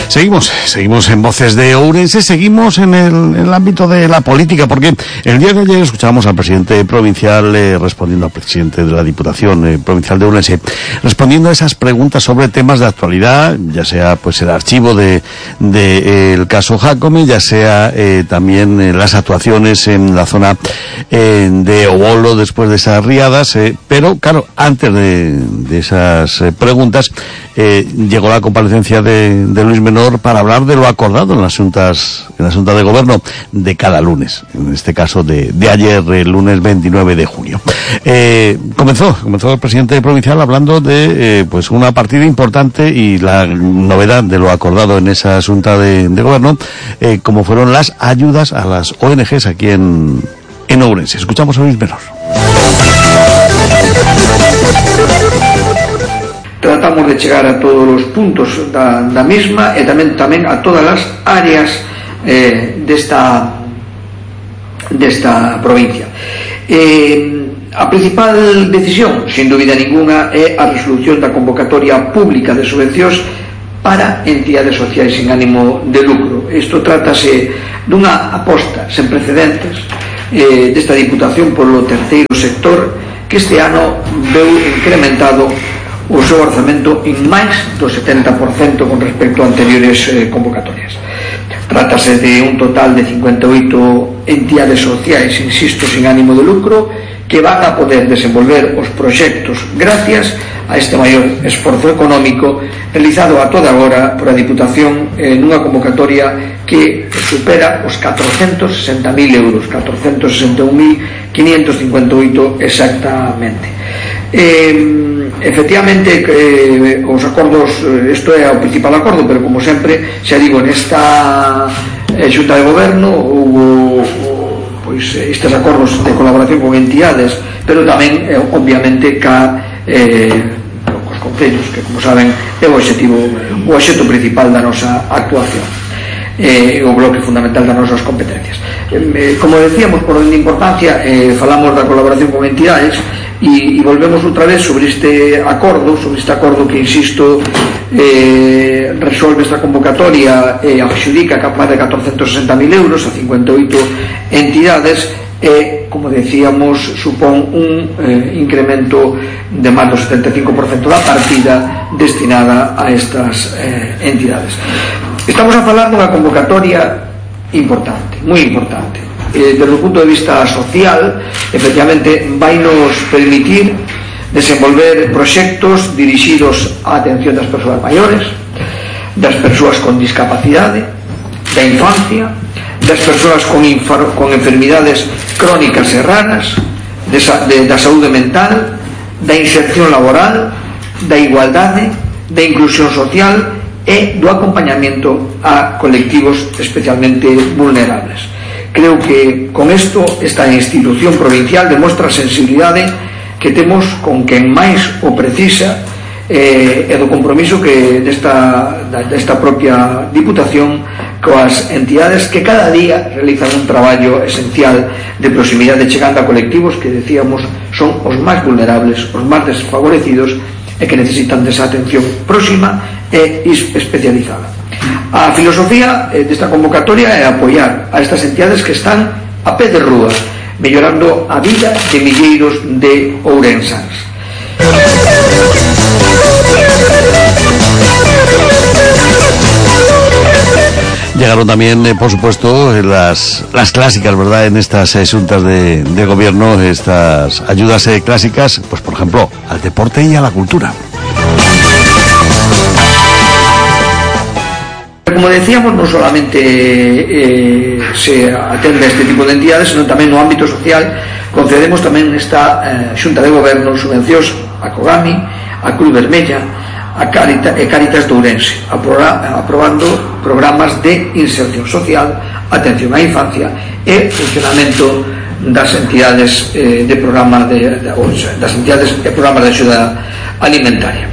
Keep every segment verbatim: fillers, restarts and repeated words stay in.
Seguimos, seguimos en Voces de Ourense, seguimos en el, en el ámbito de la política, porque el día de ayer escuchábamos al presidente provincial eh, respondiendo al presidente de la Diputación eh, Provincial de Ourense, respondiendo a esas preguntas sobre temas de actualidad, ya sea pues el archivo de, de eh, el caso Jácome, ya sea eh, también eh, las actuaciones en la zona eh, de Obolo después de esas riadas, eh, pero claro, antes de, de esas eh, preguntas eh, llegó la comparecencia de, de Luis Menor para hablar de lo acordado en las juntas, en la Junta de Gobierno de cada lunes, en este caso de, de ayer, el lunes veintinueve de junio. Eh, comenzó, comenzó el presidente provincial hablando de, eh, pues una partida importante y la novedad de lo acordado en esa Junta de, de Gobierno, eh, como fueron las ayudas a las O N Ges aquí en, en Ourense. Escuchamos a Luis Menor. Tratamos de chegar a todos os puntos da, da mesma e tamén tamén a todas as áreas eh, desta desta provincia. Eh, a principal decisión, sin dúbida ninguna, é a resolución da convocatoria pública de subvencións para entidades sociais sin ánimo de lucro. Isto trátase dunha aposta sen precedentes eh, desta Diputación polo terceiro sector, que este ano veu incrementado o seu orzamento en máis do setenta por cento con respecto a anteriores eh, convocatorias. Trátase de un total de cincuenta e oito entidades sociais, insisto, sin ánimo de lucro, que van a poder desenvolver os proxectos gracias a este maior esforzo económico realizado a toda agora por a Diputación en unha convocatoria que supera os catrocentos sesenta mil euros, catrocentos sesenta e un mil quinientos cincuenta e oito exactamente. Eh, efectivamente eh, os acordos, isto é o principal acordo, pero como sempre xa digo, nesta eh, Xunta de Goberno houve pois estes acordos de colaboración con entidades, pero tamén eh, obviamente ca eh, cos concellos, que como saben é o obxectivo, o obxecto principal da nosa actuación, eh, o bloque fundamental das nosas competencias. Eh, como decíamos, por orden de importancia, eh, falamos da colaboración con entidades e, e volvemos outra vez sobre este acordo, sobre este acordo que, insisto, eh, resolve esta convocatoria e eh, adxudica máis de catrocentos sesenta mil euros a cincuenta e oito entidades e, como decíamos, supón un eh, incremento de máis do setenta e cinco por cento da partida destinada a estas eh, entidades. Estamos a falar dunha convocatoria importante, moi importante. Eh, desde o punto de vista social, efectivamente, vai nos permitir desenvolver proxectos dirixidos á atención das persoas maiores, das persoas con discapacidade, da infancia, das persoas con, infar, con enfermidades crónicas e raras, de, de, da saúde mental, da inserción laboral, da igualdade, da inclusión social e do acompañamento a colectivos especialmente vulnerables. Creo que con isto esta institución provincial demostra a sensibilidade que temos con quen máis o precisa eh, e do compromiso que desta, desta propia Diputación coas entidades que cada día realizan un traballo esencial de proximidade chegando a colectivos que decíamos son os máis vulnerables, os máis desfavorecidos e que necesitan desa atención próxima e especializada. A filosofía desta convocatoria é apoiar a estas entidades que están a pé de rúa, mellorando a vida de milleiros de ourensans. Llegaron también, eh, por supuesto, las, las clásicas, ¿verdad?, en estas eh, juntas de, de gobierno, estas ayudas eh, clásicas, pues por ejemplo, al deporte y a la cultura. Como decíamos, non solamente eh, se atende a este tipo de entidades, sino tamén no ámbito social concedemos tamén nesta eh, Xunta de Goberno subvencións a Cogami, a Cruz Vermella, a Caritas e Caritas de Ourense, aprobando programas de inserción social, atención á infancia e funcionamento das entidades eh, de programa de, de, das entidades de programas de axuda alimentaria.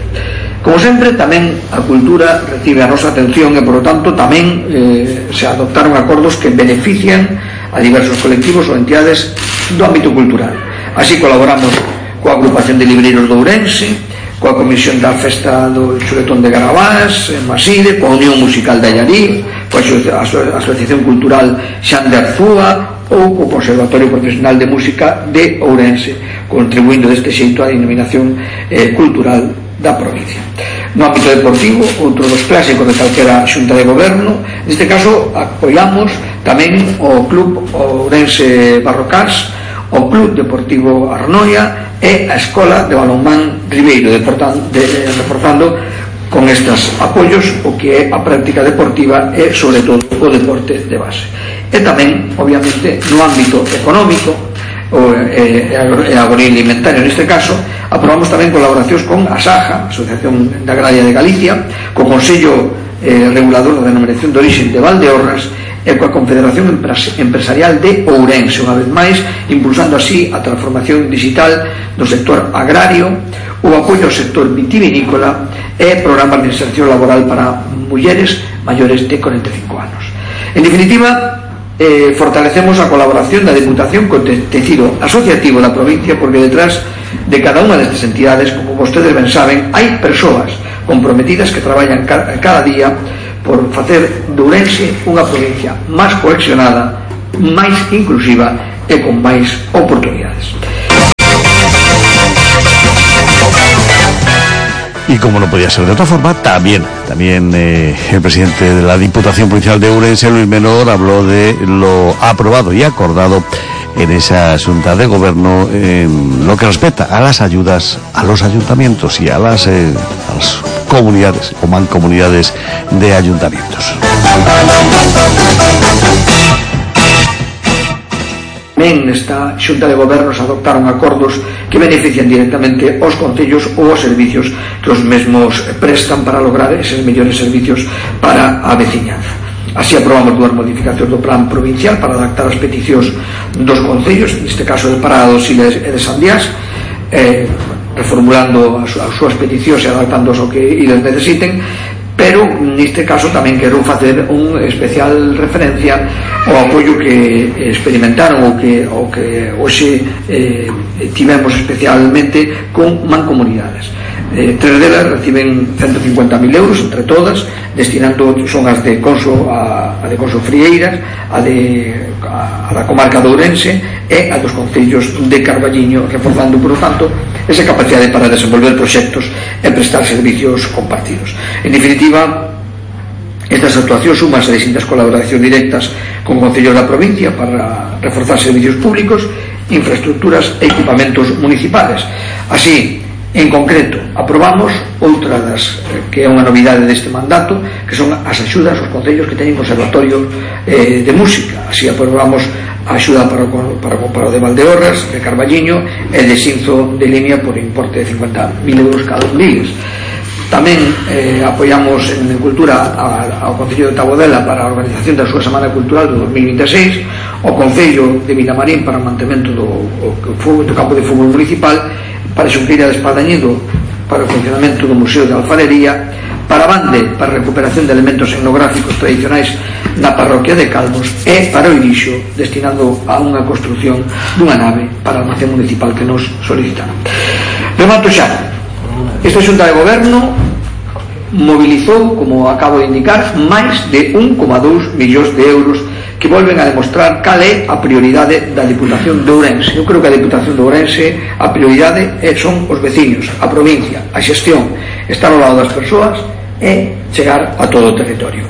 Como sempre, tamén a cultura recibe a nosa atención e, por lo tanto, tamén eh, se adoptaron acordos que benefician a diversos colectivos ou entidades do ámbito cultural. Así colaboramos coa Agrupación de Libreiros de Ourense, coa comisión da festa do Chuletón de Garabás, en Maside, coa Unión Musical de Allariz, coa Asociación Cultural Xan de Arzúa ou co Conservatorio Profesional de Música de Ourense, contribuindo deste xeito á denominación eh, cultural da provincia. No ámbito deportivo, outro dos clásicos de calquera xunta de goberno, neste caso apoiamos tamén o Club Ourense Barrocás, o Club Deportivo Arnoia e a Escola de Balonmán Ribeiro, reforzando con estes apoios o que é a práctica deportiva e sobre todo o deporte de base. E tamén, obviamente, no ámbito económico e agroalimentario, neste caso aprobamos tamén colaboracións con a SAJA, Asociación de Agraria de Galicia, co Consello eh, Regulador da Denominación de Orixe de Valdeorras e coa Confederación Empresarial de Ourense, unha vez máis impulsando así a transformación digital do sector agrario, o apoio ao sector vitivinícola e programas de inserción laboral para mulleres maiores de corenta e cinco anos. En definitiva, Eh, fortalecemos a colaboración da Deputación co tecido asociativo da provincia, porque detrás de cada unha destas entidades, como vostedes ben saben, hai persoas comprometidas que traballan ca cada día por facer de Ourense unha provincia máis cohesionada, máis inclusiva e con máis oportunidades. Y como no podía ser de otra forma, también, también eh, el presidente de la Diputación Provincial de Ourense, Luis Menor, habló de lo aprobado y acordado en esa Junta de Gobierno en lo que respecta a las ayudas a los ayuntamientos y a las, eh, a las comunidades o mancomunidades de ayuntamientos. Tamén nesta Xunta de Gobernos adoptaron acordos que benefician directamente aos concellos ou aos servicios que os mesmos prestan para lograr eses mellores servicios para a veciñanza. Así aprobamos dúas modificacións do plan provincial para adaptar as peticións dos concellos, neste caso de Parada dos Siles e de Sandiás, eh, reformulando as, as súas peticións e adaptándoos ao que eles necesiten, pero neste caso tamén quero facer un especial referencia ao apoio que experimentaron ou que, ou que hoxe eh, tivemos especialmente con mancomunidades. Eh, tres delas reciben ciento cincuenta mil euros entre todas, destinando, son as de Conso, a, a de Conso Frieiras, a, de, a, a da comarca de Ourense e a dos concellos de Carballiño, reforzando, por lo tanto, esa capacidade para desenvolver proxectos e prestar servicios compartidos. En definitiva, estas actuacións suman a distintas colaboracións directas con concellos da provincia para reforzar servicios públicos, infraestructuras e equipamentos municipales. Así, en concreto, aprobamos outra das que é unha novidade deste mandato, que son as axudas aos concellos que teñen conservatorio eh, de música. Así aprobamos a axuda para o, para, para o de Valdeorras, de Carballiño e de Xinzo de Limia por importe de cincuenta mil euros cada un deles. Tamén eh, apoiamos en Cultura a, ao Concello de Tabodela para a organización da súa Semana Cultural do dos mil vinte e seis, ao Concello de Vilamarín para o mantemento do, o, do campo de fútbol municipal, para Xunqueira de Espadañido para o funcionamento do Museo de Alfarería, para Bande para a recuperación de elementos etnográficos tradicionais na parroquia de Calvos e para o Irixo, destinado a unha construción dunha nave para a almacén municipal que nos solicitaron. Remato xa. Esta Xunta de Goberno mobilizou, como acabo de indicar, máis de un coma dous millóns de euros que volven a demostrar cal é a prioridade da Diputación de Ourense. Eu creo que a Diputación de Ourense a prioridade son os veciños, a provincia, a xestión, estar ao lado das persoas e chegar a todo o territorio.